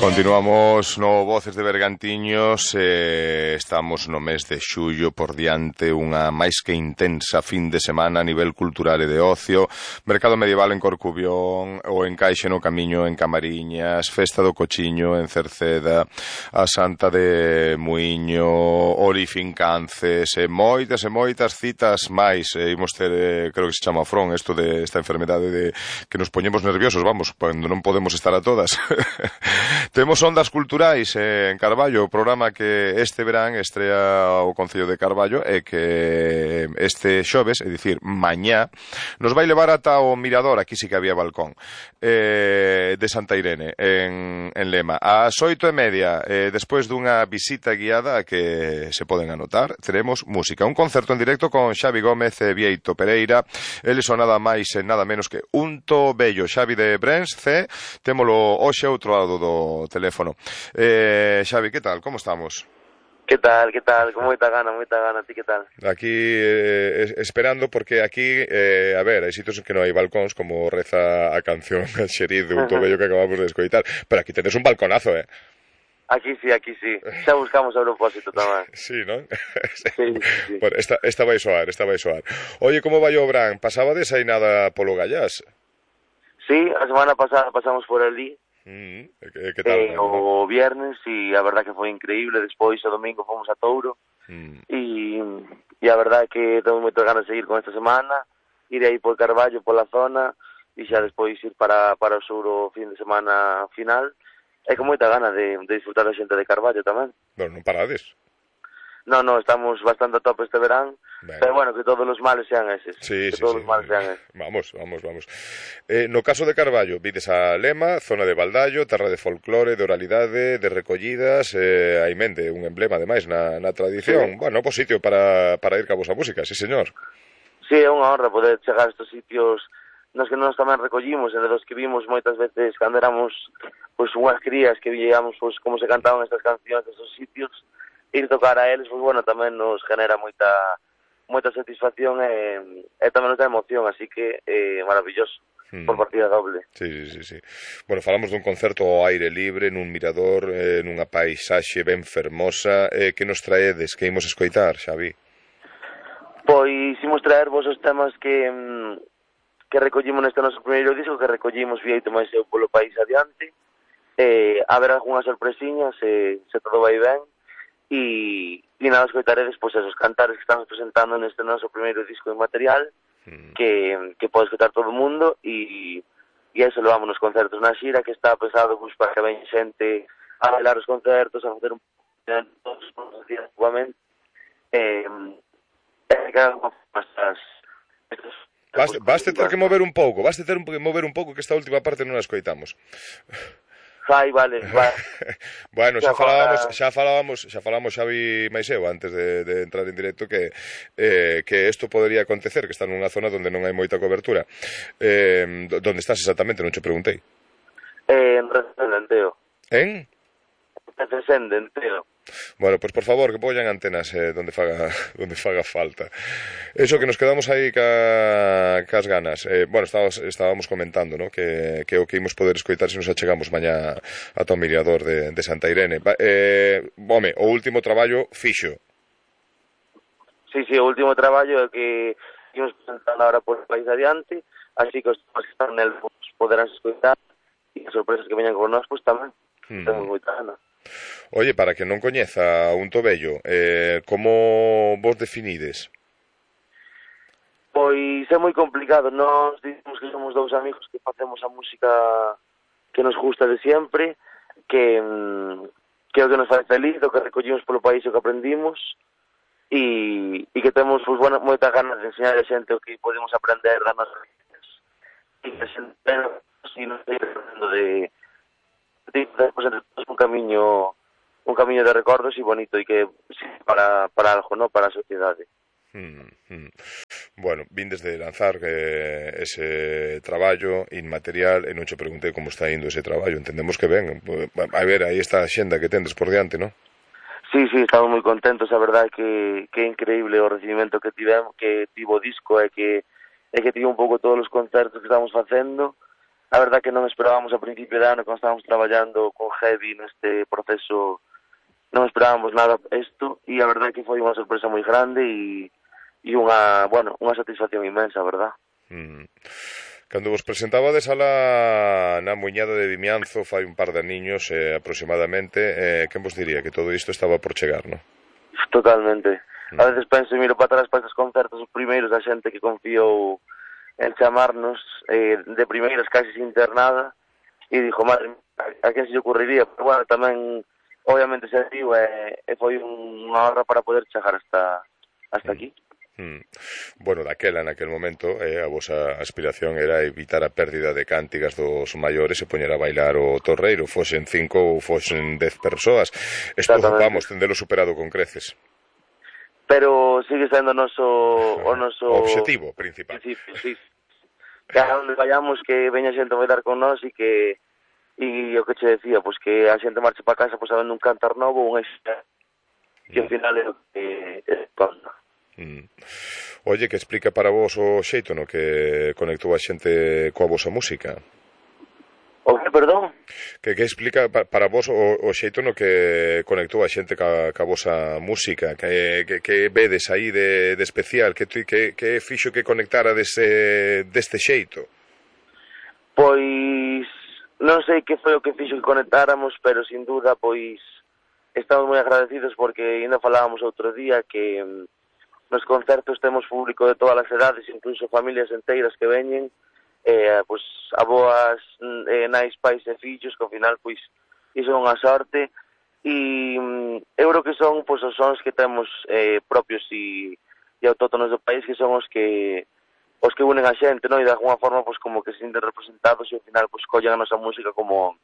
Continuamos no Voces de Bergantiños, estamos no mes de xullo, por diante unha máis que intensa fin de semana a nivel cultural e de ocio, mercado medieval en Corcubión, o encaixe no Camiño en Camariñas, festa do Cochiño en Cerceda, a Santa de Muiño, Orifincances, e moitas citas máis. Imos ter, creo que se chama Fron, isto de esta enfermedade de que nos poñemos nerviosos, vamos, cando non podemos estar a todas. Temos Ondas Culturais en Carballo, o programa que este verán estrea o Concello de Carballo e que este xoves, é dicir, mañá, nos vai levar ata o Mirador, aquí sí que había balcón, de Santa Irene, en Lema. Ás 8:30, despois dunha visita guiada a que se poden anotar, teremos música. Un concerto en directo con Xavi Gómez e Vieito Pereira. Eles son nada máis e nada menos que Unto Bello. Xavi de Brens, témolo hoxe outro lado do teléfono. Xavi, que tal? Como estamos? Que tal? Con moita gana, ti que tal? Aquí esperando, porque aquí, a ver, hai sitios en que non hai balcóns, como reza a canción Xeriz de Unto Bello que acabamos de escoitar, pero aquí tedes un balconazo, Aquí sí. Xa buscamos a propósito tamén. Sí, non? Sí. Bueno, esta vai soar. Oye, como vai o Bran? Pasabades aí nada polo Gallás? Sí, a semana pasada pasamos por ali. Que tal? O viernes, e a verdad que foi increíble. Despois o domingo fomos a Touro. E a verdad que tengo moitas ganas de seguir con esta semana, ir aí por Carballo, pola zona, e xa despois ir para o sur o fin de semana final, e con moita gana de disfrutar a xente de Carballo tamén. Bueno, non parades? No, estamos bastante a tope este verán. Ben. Pero bueno, que todos os males sean eses. Sí. Todos os males sean eses. Vamos. No caso de Carballo, vides a Lema, zona de Baldallo, terra de folclore, de oralidade, de recollidas, hai mente, un emblema ademais na tradición. Sí. Bueno, pues sitio para ir ca vosa música, sí señor. Sí, é unha honra poder chegar a estes sitios nos que nós tamén recollimos, e de los que vimos moitas veces cando éramos unhas crías que veíamos como se cantaban estas cancións destes sitios. Ir tocar a eles, bueno, tamén nos genera moita satisfacción e tamén nos dá emoción, así que maravilloso, por partida doble. Sí. Bueno, falamos dun concerto ao aire libre, nun mirador, nunha paisaxe ben fermosa. Que nos traedes, que imos escoitar, Xavi? Pois imos traervos os temas que recollimos neste noso primeiro disco, que recollimos Vieito máis eu polo país adiante. Haber algunhas sorpresiñas, se todo vai ben. E nada, escoitaredes esos cantares que estamos presentando neste noso primeiro disco de material, que pode escoitar todo o mundo, e eso levamos nos concertos na xira, que está pensado para que ven xente a bailar os concertos, a facer un todos os días igualmente, Vaste ter que mover un pouco, que esta última parte non a escoitamos. Vale. Bueno, xa falábamos Xavi máis eu antes de entrar en directo que isto podería acontecer, que está nunha zona onde non hai moita cobertura. Donde estás exactamente? Non che preguntei. En Resende, En? Resende, Bueno, pues por favor, que poñan antenas donde faga falta. Eso, que nos quedamos aí cas ganas. Bueno, estábamos comentando, ¿no? que o que imos poder escoitar se nos achegamos mañá ata o Mirador de Santa Irene. Home, o último traballo fixo. Sí, o último traballo é que imos presentar ahora por o país adiante, así que os que están nel poderán escoitar, e as sorpresas que veñan con nós, pues tamén. Temos moita gana. Oye, para que non coñeza Unto Bello, como vos definides? Pois é moi complicado. Nós dicimos que somos dous amigos que facemos a música que nos gusta de sempre, que é o que nos faz feliz, o que recollimos polo país, o que aprendimos, e que temos moita ganas de enseñar a xente o que podemos aprender das nosas vidas, e que a xente non sei de un camiño de recordos e bonito, e que para algo, no, para a sociedade. Bueno, vindes de lanzar ese traballo inmaterial, e non che preguntei como está indo ese traballo. Entendemos que ben. A ver, aí está a xenda que tendes por diante, non? Sí, estamos moi contentos. A verdade que é increíble o recibimento que tivo o disco, e que tivo un pouco todos os concertos que estamos facendo, a verdad que non esperábamos a principio de ano, cando estábamos traballando con Heavy neste proceso, non esperábamos nada isto, e a verdad que foi unha sorpresa moi grande e unha, bueno, unha satisfacción inmensa, a verdad. Cando vos presentabades alá na Muiñada de Vimianzo fai un par de aniños aproximadamente, quen vos diría que todo isto estaba por chegar, non? Totalmente. A veces penso e miro para atrás para estes concertos, os primeiros da xente que confiou en chamarnos de primeiras casi sin ter nada, e dixo, madre, a quen se lle ocurriría? Pero bueno, tamén obviamente se viu e foi unha honra para poder chegar hasta aquí. Bueno, naquel momento a vosa aspiración era evitar a pérdida de cántigas dos maiores e poñer a bailar o torreiro, fosen 5 ou fosen 10 persoas. Isto vamos, tendelo superado con creces. Pero sigue sendo o noso objetivo principal. Sí. Que a onde vayamos que veña xente a bailar con nós e o que che decía, pois que a xente marche para casa pois sabendo un cantar novo, un extra, que ao final é o que conta. Oye, que explica para vos o xeito no que conectou a xente coa vosa música? O que, perdón? Que explica para vos o xeito no que conectou a xente ca vosa música, que vedes aí de especial, que fixo que conectara deste xeito? Pois non sei que foi o que fixo que conectáramos, pero sin duda pois estamos moi agradecidos porque ainda falábamos outro día que nos concertos temos público de todas as edades, incluso familias enteiras que veñen, pois aboas, nais, pais e fillos, que ao final pois iso é unha sorte, e eu creo que son pois os sons que temos propios e autóctonos do país, que son os que unen a xente, non? E de alguna forma pois como que se sienten representados e ao final pois collen a nosa música como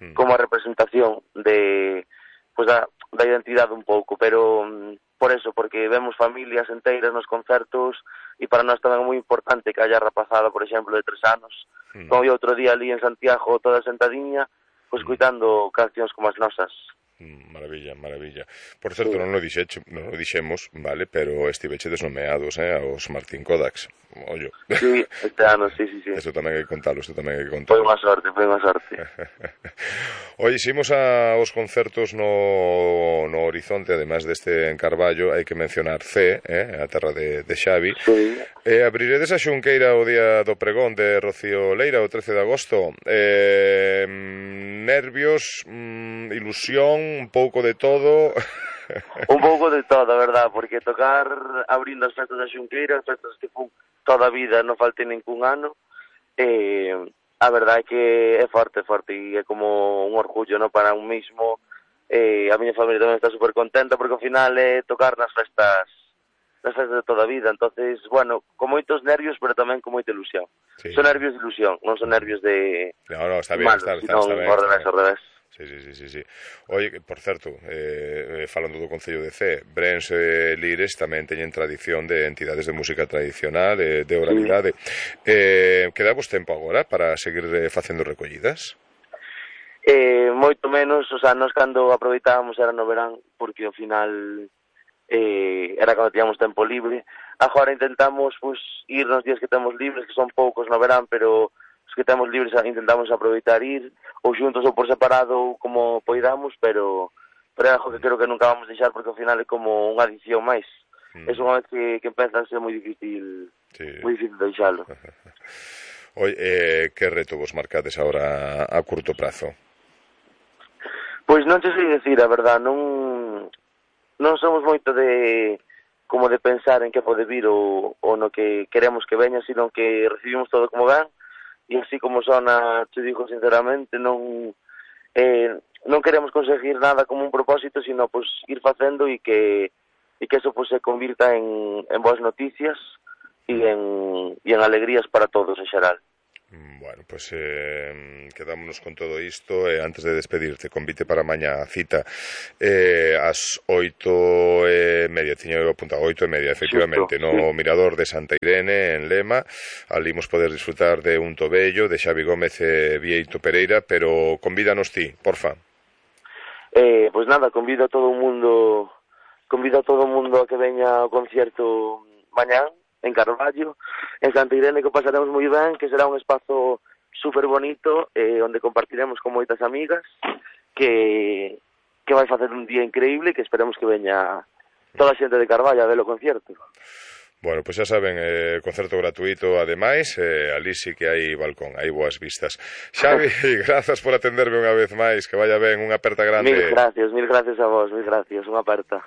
a representación de pois da identidade un pouco, pero por eso, porque vemos familias enteiras nos concertos e para nós tamén é moi importante que haya rapazada, por exemplo, de 3 anos, como eu outro día ali en Santiago toda sentadiña, pois coitando cancións como as nosas. Maravilla. Por certo, non o dixemos, vale, pero estiveche desnomeados aos Martín Kodaks. Ollo. Sí, este ano, sí. Eso tamén hai que contalo, Foi unha sorte. Oye, ximos aos concertos no Horizonte, además deste en Carballo, hai que mencionar C, a terra de Xavi. Sí. Abriredes a xunqueira o día do pregón de Rocío Leira, o 13 de agosto. Nervios, ilusión, un pouco de todo. Un pouco de todo, a verdad, porque tocar abrindo as festas da xunqueira, as festas que fun toda a vida, non falte ningún ano, a verdade é que é forte e é como un orgullo, no, para un mismo. A miña familia tamén está super contenta porque ao final é tocar nas festas de toda a vida, entonces, bueno, con moitos nervios, pero tamén con moita ilusión. Sí. Son nervios de ilusión, non son nervios de no, está bien, malos, está ben. Ao revés. Sí. Oye, por certo, falando do Concello de Cee, Brens e Lires tamén teñen tradición de entidades de música tradicional, de oralidade. Quedavos tempo agora para seguir facendo recollidas? Moito menos, o sea, nos cando aproveitábamos era no verán, porque ao final era cando tiñamos tempo libre. Agora intentamos pues, ir nos días que temos libres, que son poucos no verán, pero os que temos libres intentamos aproveitar ir, ou xuntos ou por separado, ou como poidamos, pero é algo que creo que nunca vamos deixar, porque ao final é como unha adición máis. É unha vez que empeza a ser moi difícil deixalo. Oi, que reto vos marcades agora a curto prazo? Pois non te sei dicir, a verdad, non somos moito de pensar en que pode vir ou no que queremos que veña, sino que recibimos todo como ven, e así como sona, te digo sinceramente, non queremos conseguir nada como un propósito, sino pues ir facendo e que eso pues se convirta en boas noticias e en alegrías para todos en xeral. Bueno, pues quedámonos con todo isto antes de despedirte, convite para mañá a cita ás 8:30, tiño apuntado 8:30, efectivamente, justo, no Mirador de Santa Irene en Lema. Ali imos poder disfrutar de Un Tobello, de Xavi Gómez e Vieito Pereira, pero convídanos ti, porfa. Pois nada, convido a todo o mundo a que veña ao concierto mañán en Carballo, en Santa Irene, que pasaremos moi ben, que será un espazo super bonito, onde compartiremos con moitas amigas, que vai facer un día increíble, que esperemos que veña toda a xente de Carballo a ver o concierto. Bueno, pois xa saben, concerto gratuito, ademais, ali sí que hai balcón, hai boas vistas. Xavi, grazas por atenderme unha vez máis, que vaya ben, unha aperta grande. Mil gracias a vos, unha aperta.